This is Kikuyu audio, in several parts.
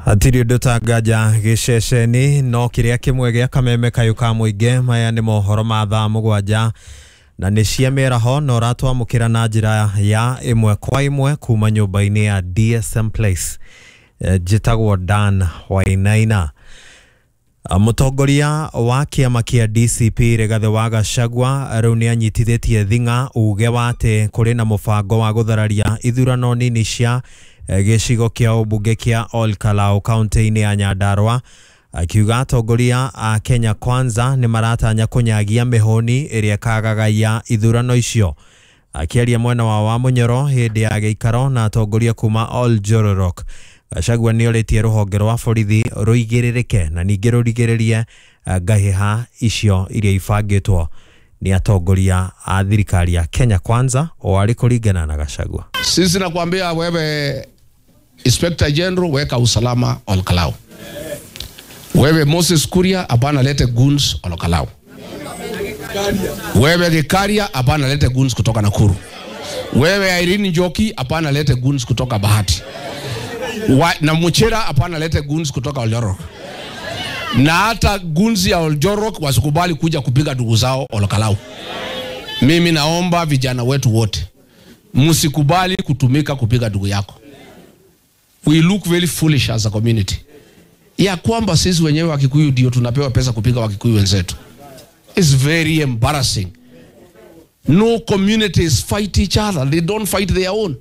Hatirĩ ũndũ ta nganja gĩceceni no kĩrĩa kĩmwe gĩa kameme kayũ ka mũingĩ. Maya nĩ mohoro ma thaa 7 na nĩ cia mĩaraho, na ũratwamũkĩra na njĩra ya ĩmwe kwa ĩmwe kuma nyũmba-inĩ ya DSM Place. Njĩtagwo Dan Wainaina. Mũtongoria wa kĩama kĩa DCP Rigathĩ wa Gachagua rĩu nĩ anyitithĩtie thing'a uge wa atĩ kũrĩ na mũbango wa gũthararia ithurano nini cia gĩcigo kĩa ũmbunge kĩa Ol Kalou kaunti-inĩ ya Nyandarua, akiuga atongoria a Kenya Kwanza nĩ maratanya kũnyagia mĩhũni ĩrĩa ĩkagagaia ithurano icio. Akĩaria mwena wa Wamunyoro hĩndĩ ya gĩikaro na atongoria kuma Ol Jororok, Gachagua nĩ orĩtie rũhonge rwa borithi rũigĩrĩrĩke na ningĩ rũrigĩrĩrie ngahĩha icio iria ibangĩtwo nĩ atongoria a thirikari ya Kenya Kwanza, o arĩ kũringana na Gachagua. Sisi nakwambia wewe Inspector General, weka usalama Ol Kalou. Wewe Moses Kuria, hapana lete goons Ol Kalou. Wewe Gikaria, hapana lete goons kutoka Nakuru. Wewe Irene Njoki, hapana lete goons kutoka Bahati. Na Muchira, hapana lete goons kutoka Oljorok. Na hata goons ya Oljorok wasikubali kuja kupiga ndugu zao Ol Kalou. Mimi naomba vijana wetu wote, msikubali kutumika kupiga ndugu yako. We look very foolish as a community. Ya kwamba sisi wenyewe Wakikuyu ndio tunapewa pesa kupiga Wakikuyu wenzetu. It's very embarrassing. No communities fight each other. They don't fight their own.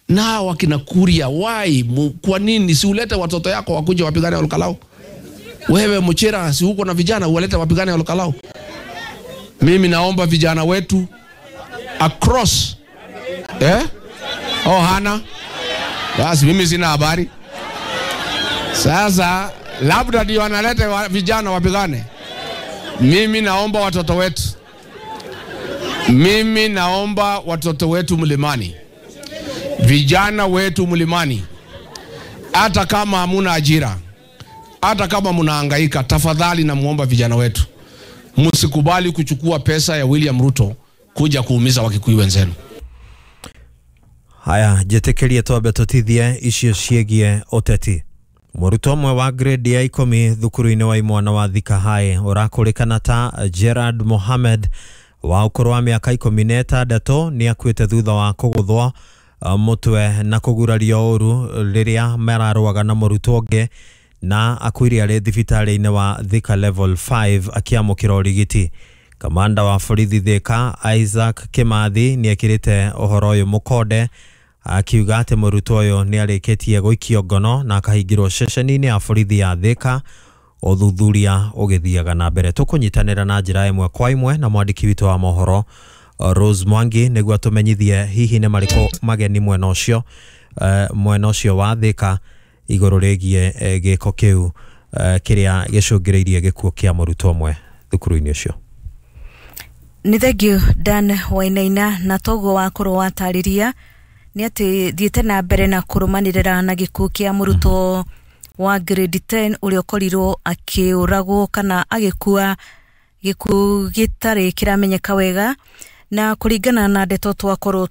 Na wakina Kuria, why? Kwa nini si ulete watoto yako wakuje wapigane Ol Kalou? Wewe Muchira, si uko na vijana uwalete wapigane Ol Kalou? Mimi naomba vijana wetu across. Oh, hana. Basi mimi sina habari. Sasa labda ndio wanalete vijana wapigane. Mimi naomba watoto wetu. Mimi naomba watoto wetu mlimani. Vijana wetu mlimani. Hata kama hamuna ajira, hata kama mnahangaika, tafadhali namuomba vijana wetu, msikubali kuchukua pesa ya William Ruto kuja kuumiza Wakikuyu wenzenu. Haya, njĩtĩkĩrie twambe tũtithie icio ciĩgiĩ ũteti. Mũrutwo ũmwe wa grade ya 10 thukuru-inĩ wa imwana wa Thika High ũrakũrĩkana ta Gerard Mohammed wa ũkũrũ wa mĩaka 16 nĩ akuĩte thutha wa kũgũthwo mũtwe na kũgurario ũru rĩrĩa mararũaga na mũrutwo ũngĩ, na akuire arĩ thibitarĩ-inĩ wa Thika Level 5 akĩamũkĩra ũrigiti. Kamanda wa borithi Thika Isaac Kimathi nĩ ekĩrĩte ũhoro ũyũ mũkonde, akiuga atĩ mũrutwo ũyũ nĩ arĩkĩtie gũikio ngono na akahingĩrwo ceceni-inĩ ya borithi ya Thika, ũthuthuria ũgĩthiaga na mbere. Tũkũnyitanĩra na njĩra ĩmwe kwa ĩmwe na mwandĩki witũ wa mohoro Rose Mwangi nĩguo atũmenyithie hihi nĩ marĩkũ mageni mwena ũcio wa Thika igũrũ rĩgiĩ gĩko kĩu kĩrĩa gĩcũngĩrĩirie gĩkuũ kĩa mũrutwo ũmwe thukuru-inĩ ũcio. Nĩ thengio Dan Wainaina, na toguo wakorwo watarĩria nĩ atĩ thiĩte na mbere na kũrũmanĩrĩra na gĩkuũ kĩa mũrutwo wa grade 10 ũrĩa ũkorirwo akĩũragwo kana agĩkua gĩkuũ gĩtarĩ kĩramenyeka wega. Na kũringana na ndeto twakorwo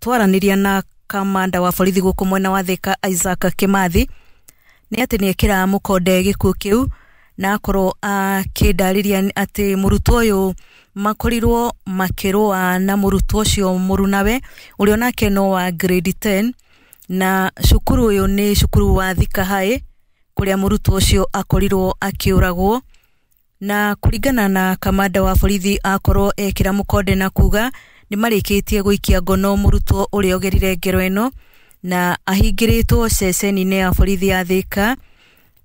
twaranĩria na kamanda wa borithi gũkũ mwena wa Thika Isaac Kimathi, nĩ atĩ nĩ ekĩra mũkonde gĩkuũ kĩu, na akorwo akĩndarĩria atĩ mũrutwo ũyũ makorirwo makĩrũa na mũrutwo ũcio mũrunawe ũrĩa onake no wa grade 10, na cukuru ũyũ nĩ cukuru wa Thika High kũrĩa mũrutwo ũcio akorirwo akĩũragwo. Na kũringana na kamanda wa borithi akorwo ekĩra mũkonde na kuga nĩ marĩkĩtie gũikia ngono mũrutwo ũrĩa ũgerire ngero ĩno, na ahingĩrĩtwo ceceni-inĩ ya borithi ya Thika.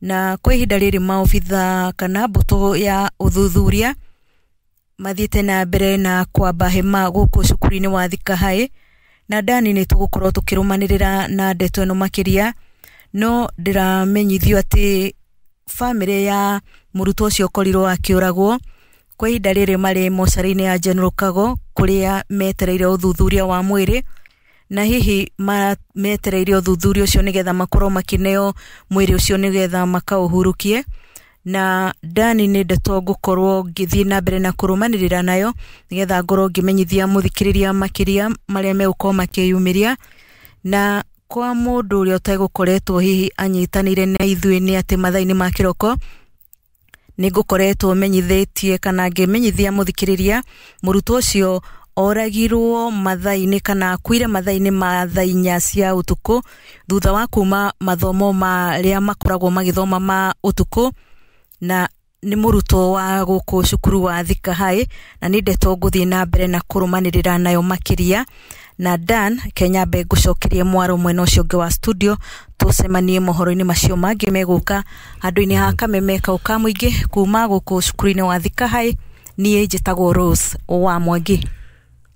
Na kwa ihinda rĩrĩ maobitha kana mbũtũ ya ũthuthuria mathiĩte na mbere na kwamba hema gũkũ cukuru-inĩ wa Thika High, na Dani nĩ tũgũkorwo tũkĩrũmanĩrĩra na ndeto ĩno makĩria. No ndĩramenyithio atĩ bamĩrĩ ya mũrutwo ũcio ũkorirwo akĩũragwo kwa ihinda rĩrĩ marĩ mocarĩ-inĩ ya General Kago kũrĩa metereire ũthuthuria wa mwĩrĩ, na hihi metereire ũthuthuria ũcio nĩgetha makorwo makĩneo mwĩrĩ ũcio nĩgetha makaũhurukie. Na Dani nĩ ndeto ngũkorwo ngĩthiĩ na mbere na kũrũmanĩrĩra nayo nĩgetha ngorwo ngĩmenyithia mũthikĩrĩria makĩria marĩa megũkorwo makĩyumĩria. Na Kwa mũndũ ũrĩa ũtegũkoretwo hihi anyitanĩire na ithuĩ nĩ atĩ mathaa-inĩ ma kĩroko nĩ ngũkoretwo menyithĩtie kana ngĩmenyithia mũthikĩrĩria mũrutwo ũcio oragirwo mathaa-inĩ kana akuire mathaa-inĩ ma thaa 4 cia ũtukũ thutha wa kuma mathomo marĩa makoragwo magĩthoma ma ũtukũ, na nĩ mũrutwo wa gũkũ cukuru wa Thika High, na nĩ ndeto ngũthiĩ na mbere na kũrũmanĩrĩra nayo makĩria. Na Dan Kenya mbe ngũcokerie mwaro mwena ũcio ũngĩ wa studio, tũcemanie mohoro-inĩ macio mangĩ megũka handũ-inĩ ha kameme kau ka mũingĩ kuma gũkũ cukuru-inĩ wa Thika High. Niĩ njĩtagwo Rose wa Mwangi.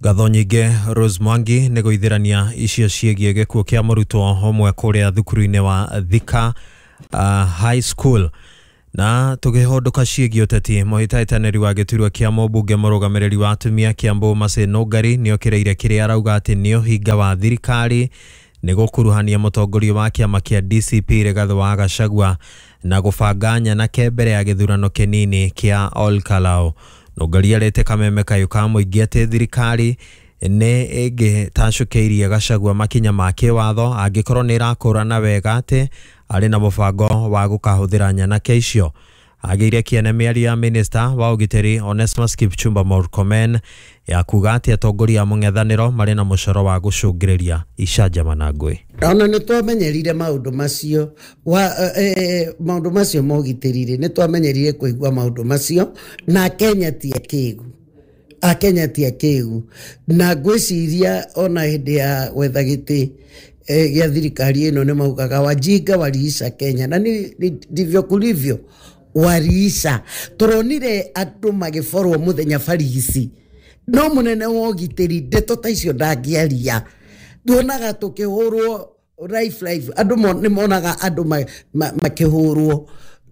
Ngatho nyingĩ Rose Mwangi nĩ gũithĩrania icio ciĩgiĩ gĩkuũ kĩa mũrutwo ũmwe kũrĩa thukuru-inĩ wa Thika High School. Na tũkĩhũndũka ciĩgiĩ ũteti, mũhĩtahĩtanĩri wa gĩturwa kĩa mũmbunge mũrũgamĩrĩri wa atumia Kiambu Mercy Nũngari nĩokĩrĩire kĩrĩa arauga atĩ nĩ ũhinga wa thirikari nĩ gũkuruhania mũtongoria wa kĩama kĩa DCP Rigathĩ wa Gachagua na gũbanga nyanake mbere ya gĩthurano kĩnini kĩa Olkalau. Nũngari arĩte kameme kayũ ka mũingĩ atĩ thirikari nĩ ĩngĩtacũkĩirie Gachagua makinya ma kĩwatho angĩkorwo nĩ ĩrakũrana wega atĩ arĩ na mũbango wa gũkahũthĩra nyanake icio. Agĩire kĩene mĩario ya minista wa ũgitĩri Onesmus Kipchumba Murkomen ya kuga atĩ atongoria a mũng'ethanĩro marĩ na mũcoro wa gũcũngĩrĩria icanjama na ngũĩ. Ona nĩ twamenyerire maũndũ macio maũndũ macio ma ũgitĩri-rĩ, nĩ twamenyerire kũigua maũndũ macio, na Kenya ti akĩgu. Akenya ti akĩgu, na ngwĩciria ona hĩndĩ ya gwetha gĩtĩ gĩa thirikari ĩno nĩ maugaga wajinga waliisha Kenya, na ndivyo kulivyo, waliisha. Tũronire andũ magĩborwo mũthenya barigici, no mũnene wa ũgitĩri ndeto ta icio ndangĩaria. Tuonaga tũkĩhũrwo life life, andũ nĩ monaga andũ makĩhũrwo,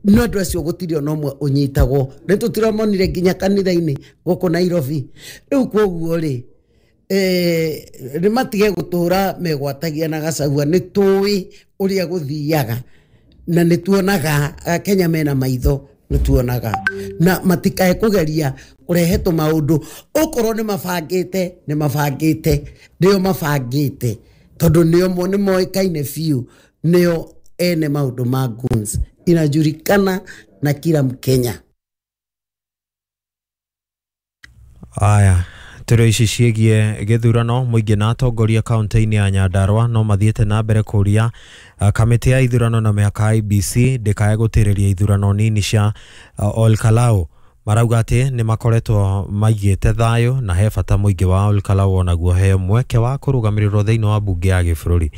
no andũ acio gũtirĩ ona ũmwe ũnyitagwo. Nĩ tũtiramonire nginya kanitha-inĩ gũkũ Nairobi. Rĩu koguo rĩ, nĩ matige gũtũra megwatagia na Gachagua, nĩ tũĩ ũrĩa gũthiaga, na nĩ tuonaga Akenya mena maitho, nĩ tuonaga, na matikae kũgeria kũrehe tũmaũndũ. Okorwo nĩ mabangĩte, nĩ mabangĩte, nĩo mabangĩte, tondũ nĩo nĩ moĩkaine biũ, nĩo ene maũndũ ma goons, inajulikana na kila Mkenya. Aya, tũrĩ ici ciĩgiĩ gĩthurano mũingĩ na atongoria kaunti-inĩ ya Nyandarua no mathiĩte na mbere kũria kamĩtĩ ya ithurano na mĩhaka IEBC ndĩkae gũtĩrĩria ithurano nini cia Olkalau. Marauga atĩ nĩ makoretwo maigĩte thayũ na he bata mũingĩ wa Olkalau onaguo heo mweke wa kũrũgamĩrĩrwo thĩinĩ wa mbunge ya gĩbũrũri.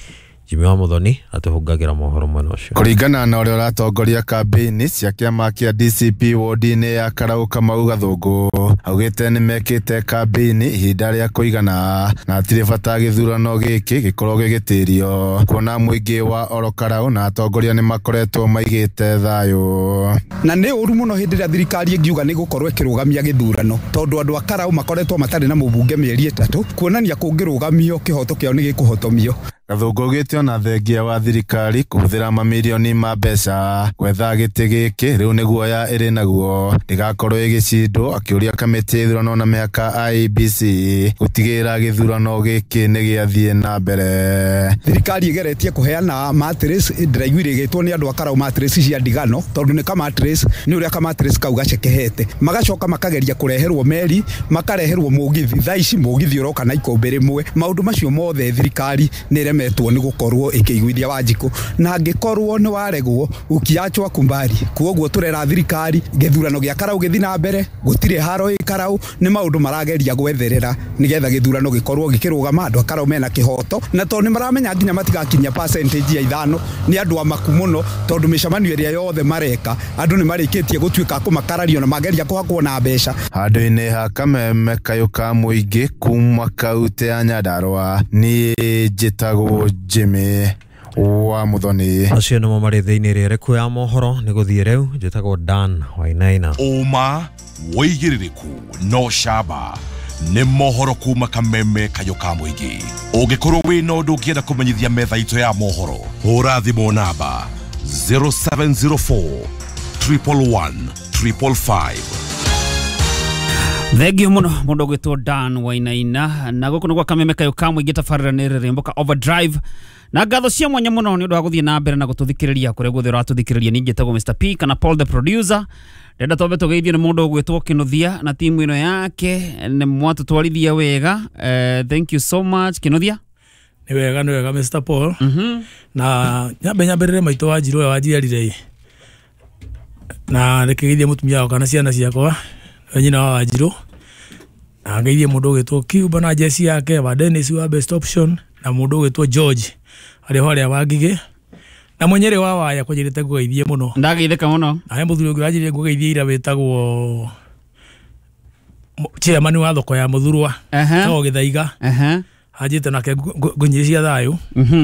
Jimmy wa Muthoni atũhungagĩra mohoro mwena ũcio. Kũringana na ũrĩa ũratongoria kambĩini cia kĩama kĩa DCP wodi-inĩ ya Karau Kamau Gathũngũ, augĩte nĩ mekĩte kambĩini ihinda rĩa kũigana na hatirĩ bata gĩthurano gĩkĩ gĩkorwo gĩgĩtĩrio, kuona mũingĩ wa Orokarau na atongoria nĩ makoretwo maigĩte thayũ. Na nĩ ũru mũno hĩndĩ ĩrĩa thirikari ĩngiuga nĩ gũkorwo ĩkĩrũgamia gĩthurano, tondũ andũ a Karau makoretwo matarĩ na mũmbunge mĩeri 3, kuonania kũngĩrũgamio kĩhoto kĩao nĩ gĩkũhotomio. Gathũngũ augĩte ona thengia wa thirikari kũhũthĩra mamirioni ma mbeca gwetha gĩtĩ gĩkĩ rĩu nĩ guoya ĩrĩ naguo ndĩgakorwo ĩgĩcindwo, akĩũria kamĩtĩ ya ithurano na mĩhaka IEBC gũtigĩrĩra gĩthurano gĩkĩ nĩ gĩathiĩ na mbere. Thirikari ĩgeretie kũheana mattress, ndĩraiguire ĩgĩtwo nĩ andũ a Karau mattress cia ndigano, tondũ nĩ ka mattress, nĩ ũrĩa ka mattress kau gacekehete. Magacoka makageria kũreherwo meri, makareherwo mũgithi, thaa ici mũgithi ũroka na ikũmbĩ rĩmwe. Maũndũ macio mothe thirikari nĩ ĩremetwo nĩ gũkorwo ĩkĩiguithia Wanjikũ, na angĩkorwo nĩ waregwo ukiachwa kumbari. Koguo tũrera thirikari gĩthurano gĩa Karau gĩthiĩ na mbere, gũtirĩ haro ĩ Karau, nĩ maũndũ marageria gwetherera nĩgetha gĩthurano gĩkorwo gĩkĩrũgama. Andũ a Karau mena kĩhoto, na tondũ nĩ maramenya nginya matigakinyia percentage ya 5, nĩ andũ amaku mũno, tondũ mĩcemanio ĩrĩa yothe mareka andũ nĩ marĩkĩtie gũtuĩka kũmakarario na mageria kũhakwo na mbeca. Handũ-inĩ ha kameme kayũ ka mũingĩ kuma kaunti ya Nyandarua, niĩ njĩtagwo Jimmy wa Muthoni. Acio nĩmo marĩ thĩinĩ rĩrĩku ya mohoro nĩ gũthiĩ rĩu. Njĩtagwo Dan Wainaina. Ũma wĩigĩrĩrĩku no camba nĩ mohoro kuma kameme kayũ ka mũingĩ. Ũngĩkorwo wĩna ũndũ ũngĩenda kũmenyithia metha itũ ya mohoro, hũra thimũ namba 0704 111 555. Thengio muno mundu gwitwo Dan Wainaina, na guku nĩ gwa kameme kayũ ka mũingĩ tabarĩra nĩ rĩrĩmbũka Overdrive, Na ngatho cia mwanya muno ni undu wa guthie na mbere na gututhikiriria kuria guothe uratuthikiriria. Ni njitagwo Mr P kana Paul the producer. Ndenda twambe tugeithio ni mundu ugwitwo Kinuthia na timu ino yake ni mwatutwarithia wega. Thank you so much Kinuthia. Ni wega, ni wega Mr Paul. Na nyambe nyambĩrĩre maitũ wa Njirũ ũrĩa wanjiarire na rĩkĩgeithie mũtumia wakwa na ciana ciakwa we nyina wa Wanjirũ, na ngeithie mũndũ ũgwĩtwo Cuba na jeci yake wa Dennis wa Best Option na mũndũ ũgwĩtwo George arĩ harĩa wa Ngigĩ na mwenyere wa waya kwanjĩrĩte ngũgeithie mũno. Ndageithĩka mũno. Na he mũthuri ũngĩ wanjĩrire ngũgeithie ira wĩtagwo chairman wa thoko ya Mũthurwa etagwo Gĩthaiga. Anjĩte nake ngũnyĩre cia thayũ.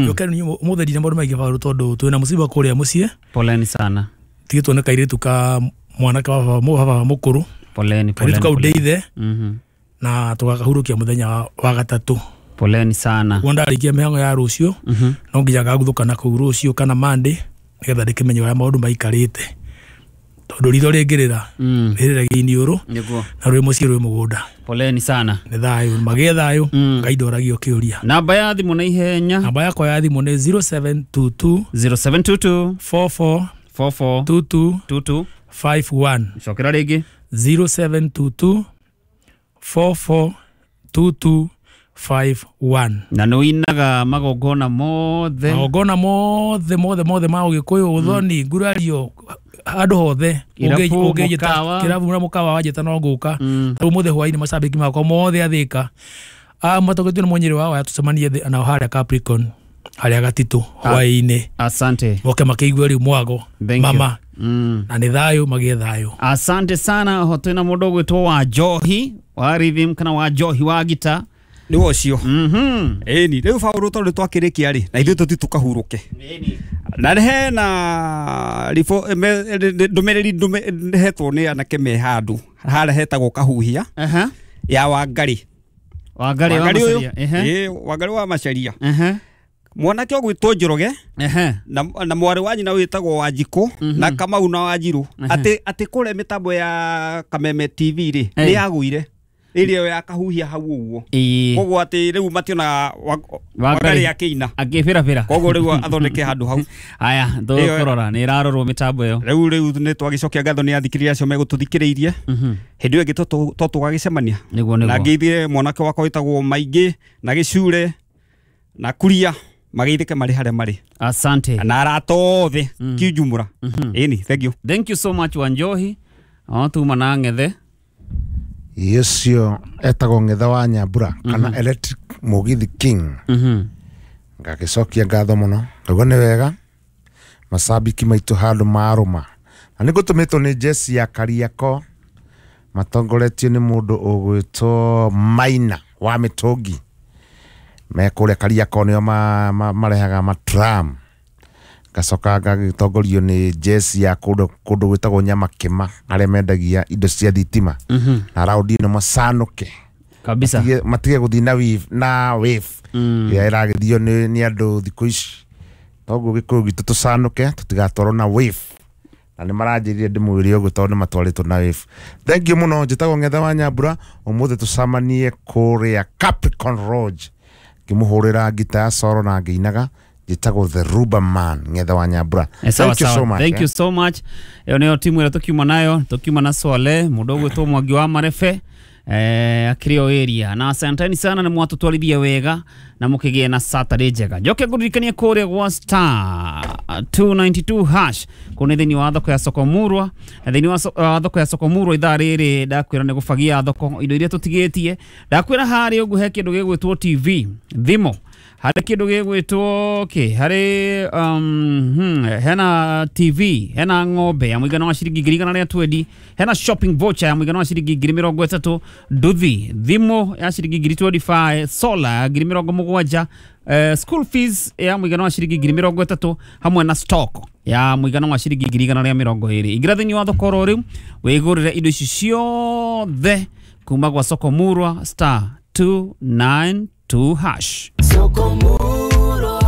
Yũke ũmũthĩ ndina maũndũ maingĩ baru tondũ twĩna mũciba kũrĩa mũciĩ. Poleni sana. Tigĩtwo nĩ kairĩtu ka mwanake wa baba mũkũrũ. Poleni, kairĩtu kau ndeithe na tũgakahurũkia mũthenya wa gatatũ. Poleni sana. Ũguo ndarĩkia mĩhang'o ya rũciũ no nginya ngaguthũka kũu rũciũ kana Monday nĩgetha ndĩkĩmenye ũrĩa maũndũ maikarĩte tondũ ritho rĩngĩrĩra rĩrĩragia iniũrũ na rwĩ mũciĩ rwĩ mũgũnda. Poleni sana. Nĩ thayũ, magĩe thayũ. Ngai ndoragio kĩũria. Namba ya thimũ na ihenya. Namba yakwa ya thimũ nĩ 0722 0722 44 44 22 22 51. Cokera rĩngĩ. 0722 44 22 51. Na nĩ ũinaga magongona mothe. Magongona mothe mothe mothe ma Ũgĩkũyũ, ũthoni, ngurario, handũ hothe kĩrabu na mũkawa wanjĩta no ngũka. Rĩu mũthĩ hwainĩ macambĩki makwa mothe athĩka matongoretio nĩ mwenyere wa waya tũcemanie nao harĩa Capricorn harĩa Gatitũ hwainĩ. Asante. Moke makĩigue rĩu mwago mama. Na nĩ thayũ, magĩe thayũ. Asante sana. Oho twĩna mũndũ ũgwĩtwo wa Njohi wa rhythm kana wa Njohi wa gita. Nĩ ũcio. Ĩni rĩu baũrũ tondũ twakĩrĩkia rĩ na ithuĩ tũthiĩ tũkahurũke. Na hena ndũmĩrĩri hetwo nĩ anake me handũ harĩa hetagwo Kahuhia ya Wangarĩ. Wangarĩ wa Macharia. Wangarĩ wa Macharia. Mwanake ũgwĩtwo Njoroge na mwarĩ wa nyina wĩtagwo Wanjikũ na Kamau na Wanjirũ atĩ kũrĩa mĩtambo ya Kameme TV rĩ nĩ yagũire ĩrĩa ya Kahuhia hau ũguo. Koguo atĩ rĩu mationaga Wangarĩ akĩina akĩbĩrabĩra. Koguo rĩu athondeke handũ hau. Aya tũkũrora nĩ ĩrarorwo mĩtambo ĩyo. Rĩu nĩ twagĩcokia ngatho nĩ athikĩrĩria acio megũtũthikĩrĩirie. Hĩndĩ ĩyo ĩngĩ to tũgagĩcemania. Na ngeithie mwanake wakwa wĩtagwo Maingĩ na Gĩcure na Kuria mageithĩke marĩ harĩa marĩ. Asante. Na arata othe kiujumũra. Ĩni, thank you. Thank you so much Wanjohi. O tuma na Ng'ethe. Yecio etagwo Ng'ethe wa Nyambura kana Electric Mugithi King. Ngagĩcokia ngatho mũno. Ngaigua nĩ wega macambĩki maitũ handũ marũma. Na nĩ ngũtũmĩtwo nĩ jeci ya Kariako matongoretio nĩ mũndũ ũgwĩtwo Maina wa Mĩtũngi. Me kũrĩa Kariako nĩo marehaga matram. Ngacoka ngagĩtongorio nĩ jeci ya kũndũ gwĩtagwo Nyamakĩma arĩa mendagia indo cia thitima. Na raundi ĩno macanũke kabisa, matige gũthiĩ na wave na wave ĩrĩa ĩragĩthio nĩ andũ thikũ ici. Toguo Gĩkũyũ gitũ tũcanũke tũtigatwarwo na wave. Na nĩ maranjĩrire ndĩmwĩre ũguo tondũ nĩ matwarĩtwo na wave. Thank you mũno. Njĩtagwo Ng'ethe wa Nyambura. Ũmũthĩ tũcemanie kũrĩa Capricorn Lodge ngĩmũhũrĩra ngita ya soro na ngĩinaga. Njĩtagwo The Ruba Man Ng'ethe wa Nyambura. Thank you so much. Thank you so much. Ĩyo nĩyo timu ĩrĩa tũkiuma nayo, tũkiuma na Swale, mũndũ ũgwĩtwo Mwangi wa Marebe akĩrĩ o area. Na asanteni sana nĩ mwatũtwarithia wega na mũkĩgĩe na Saturday njega. Njoke ngũririkanie kũrĩa gwa star 292 hash kũu nĩ thĩinĩ wa thoko ya Sokomurwa. Na thĩinĩ wa thoko ya Sokomurwa ithaa rĩrĩ ndakwĩra nĩ gũbagia thoko indo iria tũtigĩtie. Ndakwĩra harĩa ũguo he kĩndũ gĩgwĩtwo TV, thimũ, harĩ kĩndũ gĩgwĩtwo kĩ, harĩ hena TV, hena ng'ombe ya mũigana wa ciringi 120,000, hena shopping voucher ya mũigana wa ciringi 30,000, nduthi, thimũ ya ciringi 25,000, solar ya 70,000, school fees ya mũigana wa ciringi 30,000 hamwe na stock ya mũigana wa ciringi 120,000. Ingĩra thĩinĩ wa thoko oro rĩu wĩgũrĩre indo ici ciothe kuma gwa Sokomurwa star 292 hash. Sokomurwa,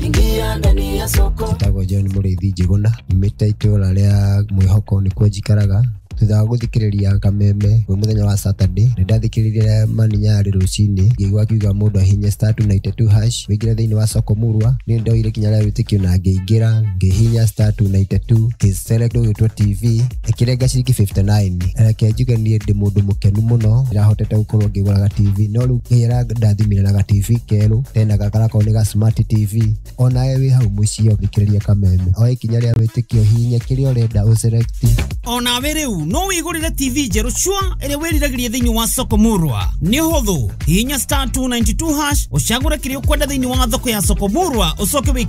ingia ndani ya soko. Njĩtagwo John Mũrĩithi Njĩgũna, nyumĩte itũũra rĩa Mwĩhoko nĩkuo njikaraga. Thutha wa gũthikĩrĩria Kameme kwĩ mũthenya wa Saturday, nĩ ndathikĩrĩirie Maninyarĩ rũcinĩ, ngĩigua akiuga mũndũ ahinye star 292 hash wĩingĩre thĩinĩ wa soko murwa. Niĩ ndoire ikinya rĩa wĩtĩkio na ngĩingĩra, ngĩhihinya star 292 ngĩselect ũgĩtwo TV ĩkĩrenga ciringi 59. Reke njuge niĩ ndĩ mũndũ mũkenu mũno, ndĩrahotete gũkorwo ngĩgũraga TV, no rĩu Ngai arandathimire na ga TV kerũ tena gakarakorwo nĩ ga smart TV. Onawe wĩ hau mũciĩ ũthikĩrĩria Kameme, oe ikinya rĩa wĩtĩkio, hihinya kĩrĩa ũrenda ũselect. Onawe rĩu no wĩgũrĩre TV njerũ cua ĩrĩa wĩriragĩria thĩinĩ wa soko murwa. Nĩ ũhũthũ, hihinya star 292 hash ũcagũre kĩrĩa ũkwenda thĩinĩ wa thoko ya soko murwa, ũcoke wĩkĩre